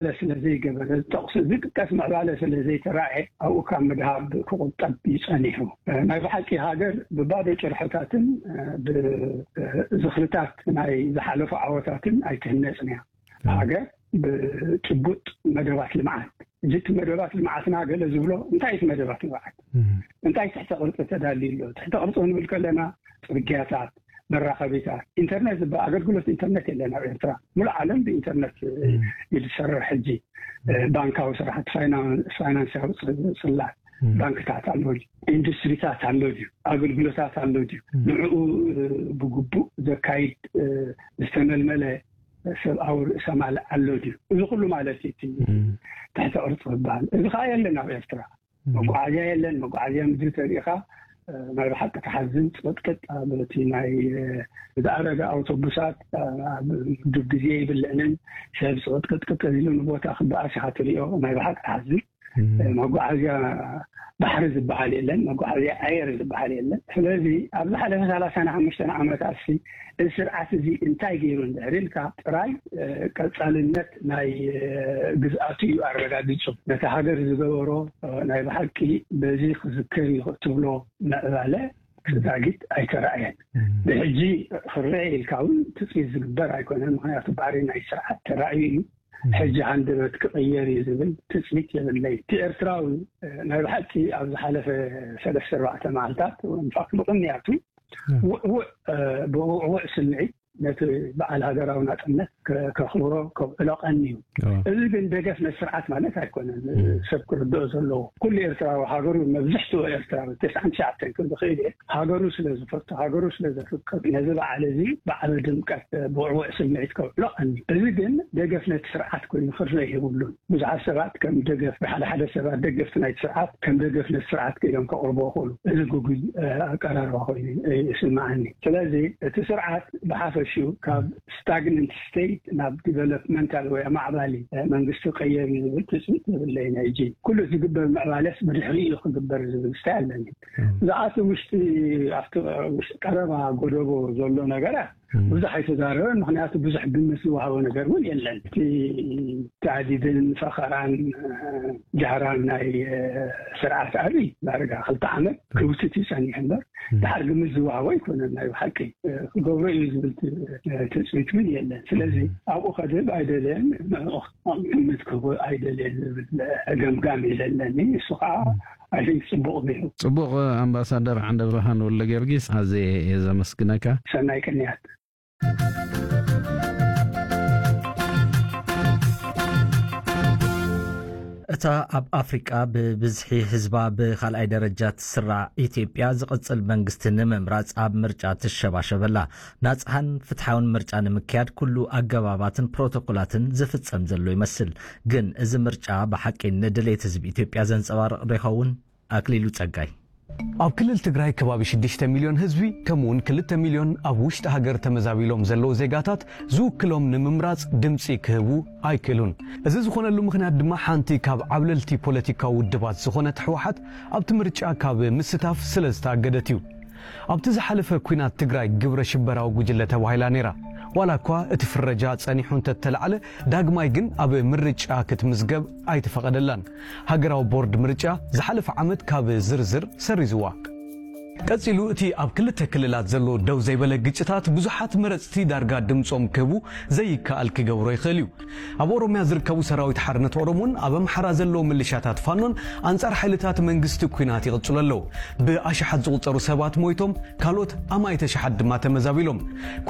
ስለ ዘይገበረ፣ ጠቕሱ ዝጥቀስ ምዕባለ ስለ ዘይተራእየ፣ ኣብኡ ካብ ምድሃብ ክቑጠብ እዩ ጸኒሑ። ናይ ብሓቂ ሃገር ብባዶ ጭርሖታትን ብዝኽርታት ናይ ዝሓለፉ ዓወታትን ኣይትህነጽን እያ። ሃገር ብጭቡጥ መደባት ልምዓት፣ እዚ እቲ መደባት ልምዓትና ገለ ዝብሎ እንታይ እቲ መደባት ልምዓት? እንታይ ትሕተ ቅርፂ ተዳልዩ ኣሎ? ትሕተ ቅርፂ ክንብል ከለና ጽርግያታት፣ መራኸቢታት፣ ኢንተርኔት ዝበሃል ኣገልግሎት ኢንተርኔት የለን ኣብ ኤርትራ። ሙሉእ ዓለም ብኢንተርኔት እዩ ዝሰርሕ ሕጂ። ባንካዊ ስራሕቲ፣ ፋይናንሳዊ ጽላት፣ ባንክታት ኣሎ ድዩ? ኢንዱስትሪታት ኣሎ ድዩ? ኣገልግሎታት ኣሎ ድዩ? ንዕኡ ብግቡእ ዘካይድ ዝተመልመለ ሰብኣዊ ርእሰ ማል ኣሎ ድዩ? እዚ ኩሉ ማለት እዩ እቲ ትሕተ ቅርፂ ዝበሃል። እዚ ከዓ የለን ኣብ ኤርትራ። መጓዓዝያ የለን። መጓዓዝያ ምድሪ ተሪኢኻ ናይ ብሓቂ ተሓዝን። ፅቕጥቅጥ ኣብ እቲ ናይ ዝኣረገ ኣውቶቡሳት ኣብ ግዜ ይብልዕንን ሰብ ፅቕጥቅጥቅጥ ኢሉ ንቦታ ክበኣስ ኢኻ ትሪኦ። ናይ ብሓቂ ተሓዝን። መጓዓዝያ ባሕሪ ዝበሃል የለን፣ መጓዓዝያ ኣየር ዝበሃል የለን። ስለዚ ኣብ ዝሓለፈ ሰላሳን ሓሙሽተን ዓመታት እዚ ስርዓት እዚ እንታይ ገይሩ እንድሕር ኢልካ ጥራይ ቀፃልነት ናይ ግዝኣቱ እዩ ኣረጋጊፁ። ነቲ ሃገር ዝገበሮ ናይ ብሓቂ በዚ ክዝከር እዩ ትብሎ ምዕባለ ክዛጊት ኣይተራእየን። ብሕጂ ክረአ ኢልካ እውን ትፅቢት ዝግበር ኣይኮነን። ምክንያቱ ባህሪ ናይ ስርዓት ተራእዩ እዩ። ሕጂ ሃንደበት ክቕየር እዩ ዝብል ትፅቢት የብለይ። እቲ ኤርትራዊ ናይ ብሓቂ ኣብ ዝሓለፈ ሰለስተ ኣርባዕተ መዓልታት ወንፋክ ብቕንያቱ ውዕውዕ ብውዕውዕ ስምዒት ነቲ በዓል ሃገራዊ ናፅነት ከኽብሮ ከብዕሎ ቀንዩ። እዚ ግን ደገፍ ነቲ ስርዓት ማለት ኣይኮነን። ሰብ ክርድኦ ዘለዎ ኩሉ ኤርትራዊ ሃገሩ፣ መብዝሕትኡ ኤርትራዊ ተስዓን ትሽዓተን ክብል ዝኽእል እየ፣ ሃገሩ ስለ ዝፈቱ፣ ሃገሩ ስለ ዘፍቅር ነዚ በዓል እዚ ብዓቢ ድምቀት ብውዕውዕ ስምዒት ከብዕሎ ቀንዩ። እዚ ግን ደገፍ ነቲ ስርዓት ኮይኑ ክርአ የብሉን። ብዙሓት ሰባት ከም ደገፍ፣ ሓደ ሓደ ሰባት ደገፍቲ ናይቲ ስርዓት ከም ደገፍ ነቲ ስርዓት ክኢሎም ከቕርቦ ይኽእሉ። እዚ ግጉይ ኣቀራርባ ኮይኑ ይስምዓኒ። ስለዚ እቲ ስርዓት ብሓፈሽኡ ካብ ስታግነንት ስቴት ናብ ዲቨሎፕመንታል ወይ ኣማዕባሊ መንግስቲ ቀየር እዩ ዝብል ትፅቢት የብለይን። ሕጂ ኩሉ ዝግበር ምዕባለስ ብድሕሪኡ እዩ ክግበር ዝብል ስታይ ኣለኒ። ዝኣቱ ውሽጢ ኣብቲ ውሽጢ ቀረባ ጎደቦ ዘሎ ነገራት ብዙሕ ኣይተዛረበን። ምክንያቱ ብዙሕ ግምት ዝወሃቦ ነገር እውን የለን። እቲ ታዕዲድን ፈኸራን ጃህራን ናይ ስርዓት ኣብይ ዳርጋ ክልተ ዓመት ክውትት እዩ ጸኒሑ እምበር ድሓር ግምት ዝወሃቦ ኣይኮነን። ናይ ብሓቂ ክገብሮ እዩ ዝብል ትጽቢት እውን የለን። ስለዚ ኣብኡ ከድህብ ኣይደለየን፣ ግምት ክህቦ ኣይደለየን ዝብል ገምጋም እዩ ዘለኒ። እሱ ከዓ ኣይን ጽቡቕ ነይሩ። ጽቡቕ። ኣምባሳደር ዓንደ ብርሃን ወልደ ጊዮርጊስ፣ ኣዝየ እየ ዘመስግነካ። ሰናይ ቅንያት። እታ ኣብ ኣፍሪቃ ብብዝሒ ህዝባ ብኻልኣይ ደረጃ ትስራዕ ኢትዮጵያ፣ ዝቕጽል መንግስቲ ንምምራጽ ኣብ ምርጫ ትሸባሸበላ። ናጽሃን ፍትሓውን ምርጫ ንምክያድ ኩሉ ኣገባባትን ፕሮቶኮላትን ዝፍጸም ዘሎ ይመስል። ግን እዚ ምርጫ ብሓቂ ንድሌት ህዝቢ ኢትዮጵያ ዘንጸባርቕ ዶ ይኸውን? ኣክሊሉ ጸጋይ። ኣብ ክልል ትግራይ ከባቢ ሽዱሽተ ሚልዮን ህዝቢ፣ ከምኡውን ክልተ ሚልዮን ኣብ ውሽጢ ሃገር ተመዛቢሎም ዘለዉ ዜጋታት ዝውክሎም ንምምራጽ ድምጺ ክህቡ ኣይክእሉን። እዚ ዝኾነሉ ምኽንያት ድማ ሓንቲ ካብ ዓብለልቲ ፖለቲካዊ ውድባት ዝኾነት ህወሓት ኣብቲ ምርጫ ካብ ምስታፍ ስለ ዝተኣገደት እዩ። ኣብቲ ዝሓለፈ ኲናት ትግራይ ግብረ ሽበራዊ ጉጅለ ተባሂላ ነይራ። ዋላ እኳ እቲ ፍረጃ ጸኒሑ እንተተላዕለ፣ ዳግማይ ግን ኣብ ምርጫ ክትምዝገብ ኣይተፈቐደላን። ሃገራዊ ቦርድ ምርጫ ዝሓለፈ ዓመት ካብ ዝርዝር ሰሪዝዋ። ቀጺሉ፣ እቲ ኣብ ክልተ ክልላት ዘሎ ደው ዘይበለ ግጭታት ብዙሓት መረጽቲ ዳርጋ ድምጾም ክህቡ ዘይከኣል ክገብሮ ይኽእል እዩ። ኣብ ኦሮምያ ዝርከቡ ሰራዊት ሓርነት ኦሮሞን ኣብ ኣምሓራ ዘለዉ ምልሻታት ፋኖን ኣንጻር ሓይልታት መንግስቲ ኲናት ይቕጽሉ ኣለዉ። ብኣሽሓት ዝቑጸሩ ሰባት ሞይቶም፣ ካልኦት ኣማኢት ኣሽሓት ድማ ተመዛቢሎም።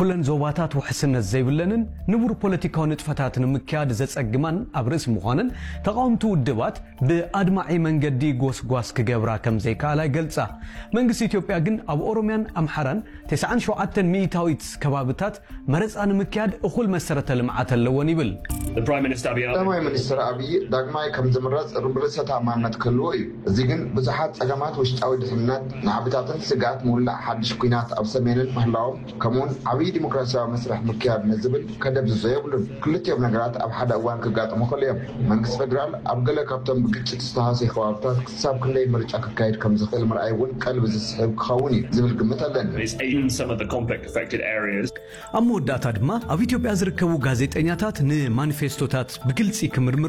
ኩለን ዞባታት ውሕስነት ዘይብለንን ንቡር ፖለቲካዊ ንጥፈታት ንምክያድ ዘጸግማን ኣብ ርእሲ ምዃነን፣ ተቓወምቲ ውድባት ብኣድማዒ መንገዲ ጎስጓስ ክገብራ ከም ዘይከኣላ ይገልጻ። መንግስቲ ኢትዮጵያ ግን ኣብ ኦሮምያን ኣምሓራን ተስዓን ሸውዓተን ሚእታዊት ከባብታት መረጻ ንምክያድ እኹል መሰረተ ልምዓት ኣለወን ይብል። The Prime Minister Abiy Ahmed. ቀዳማይ ሚኒስትር ኣብይ ዳግማይ ከም ዝምረጽ ርብ ርእሰ ተኣማንነት ክህልዎ እዩ። እዚ ግን ብዙሓት ጸገማት ውሽጣዊ ድሕነት፣ ናዕብታትን ስግኣት ምውላዕ ሓድሽ ኲናት ኣብ ሰሜንን ምህላዎም፣ ከምኡውን ዓብዪ ዲሞክራሲያዊ መስርሕ ምክያድ ንዝብል ከደብዝዞ የብሉን። ክልቲኦም ነገራት ኣብ ሓደ እዋን ክጋጥሙ ይኽእሉ እዮም። መንግስቲ ፌደራል ኣብ ገለ ካብቶም ብግጭት ዝተሃሰዩ ከባብታት ክሳብ ክንደይ ምርጫ ክካየድ ከም ዝኽእል ምርኣይ እውን ቀልቢ ዝስሕብ ክኸውን እዩ ዝብል ግምት ኣለኒ። It's in some of the conflict affected areas. ኣብ መወዳእታ ድማ ኣብ ኢትዮጵያ ዝርከቡ ጋዜጠኛታት ንማኒፌስቶታት ብግልፂ ክምርምሩ